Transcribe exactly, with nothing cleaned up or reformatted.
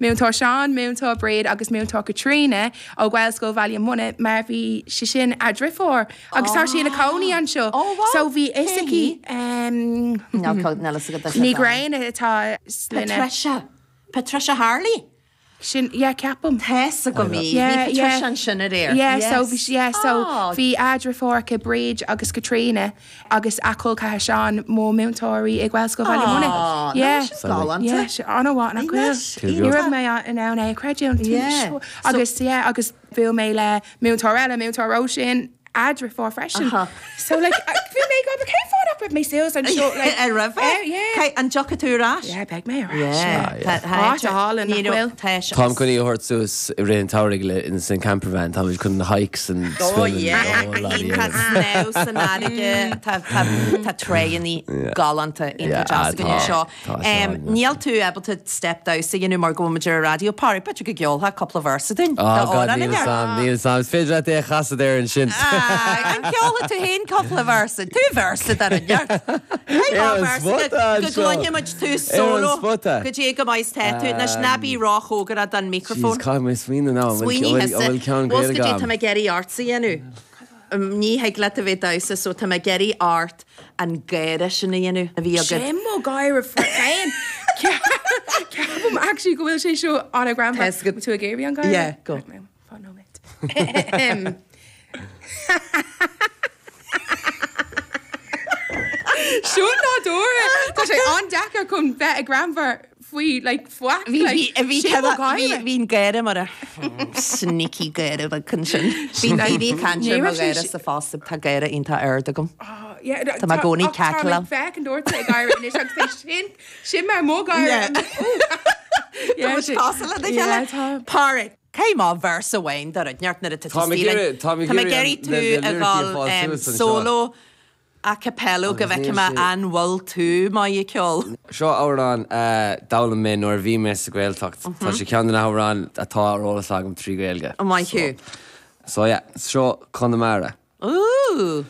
Múinteoir Seán, Múinteoir Bríd agus Múinteoir Caitríona ó Ghaelscoil Bhaile Munna mar bhí sé sin a driofúr agus tá sí ina cónaí anseo. Oh, wow. So bhí fhios aici Ní Ghréin atá Patricia. Patricia Harley. sin yeah, ceapaim. Tess go mí Yeah, Bhí yeah. Patricia ansin aréir. Yeah, so bhí yeah, so Oh. bhí a driofúr Bríd agus Caitríona agus a col ceathar Seán mo múinteoirí i Gaelscoil Bhaile Munna. Oh, Yeah. galánta. Yeah, sé an-mhaith nach Anois, bhfuil. Ní raibh mé in ann é a chreidiúint. Yeah. Agus yeah, agus bhuail mé le múinteoir eile múinteoir Róisín a driofúr freisin. Aha. So like bhí mé go cén fáth nach raibh mé suas anseo like Ar raibh Eh, yeah. An dtiocfaidh tú ar ais? Yeah, beidh mé ar ais. Yeah. Áit álainn nach bhfuil. Táim chun í a thabhairt suas i rith an tsamhraidh le in san campervan tá chun na hikes and Oh yeah, Iontach snámh san fharraige tá tráigheanna galánta Yeah, iontach deas tá, seo. tá sé Um, an- Níl tú ábalta step damhsa a dhéanamh mar go bhfuil ar raidió Pádraig b'fhéidir go gceolfá cúpla véarsa dúinn. Oh God, níl sam, níl sam. Is féidir leat é a chasadh ar ansin. An gceolfaidh tú féin cúpla véarsa, tú véarsa dar an neart. Ar an spota Go anseo. gcluinfimid tú Ar an solo spota. go dtí go maith te tú ná ná bí róchóngarach don Jeez, microphone. caithfidh mé smaoineamh ná Smaoinigh bhfuil ceann Bhfuil Gaeilge go dtí agam. tá mé ag iarraidh ort a dhéanamh. Ní thig leat a bheith damhsa so tá mé ag iarraidh ort an gáire sin a dhéanamh a bhí agat. Sin mo gáire féin. Ceapaim actually go bhfuil sé seo an-ghreannmhar. Test go- tú ag iarraidh an gáire? Yeah, go. Right, Fan nóiméad. Seo nádúrtha Tá sé an-deacair chun bheith ag greannmhar faoi like faic Bhí bhí sin mo gáire. bhí gáire mar a sneaky gáire chun sin. Bhí daoine caint Ní mo raibh sé gáire si- sa fásta tá gáire iontach ard agam. Oh, yeah, Tá mé i gcónaí cackle. Féach an dúirt ag gáire anois agus é sin sin mar mo gáire. Yeah. Yeah, Tá sin- cosúil le Yeah, chéile. tá. Pádraig, Cé má véarsa amháin dar neart na Tá mé ag iarraidh- tá mé ag Tá mé iarraidh ag iarraidh na- tú na a lyricí a ghabháil fáil um, suas anseo. solo a cappella go Agus bhfeicfidh níl mé sé- an bhfuil tú maith ag ceol. Seo amhrán d'fhoghlaim mé nuair a bhí mé sa Ghaeltacht. Tá sé ceann de na hamhráin atá ar eolas agam trí Ghaeilge. An maith thú. So yeah, seo Conamara. Ooh.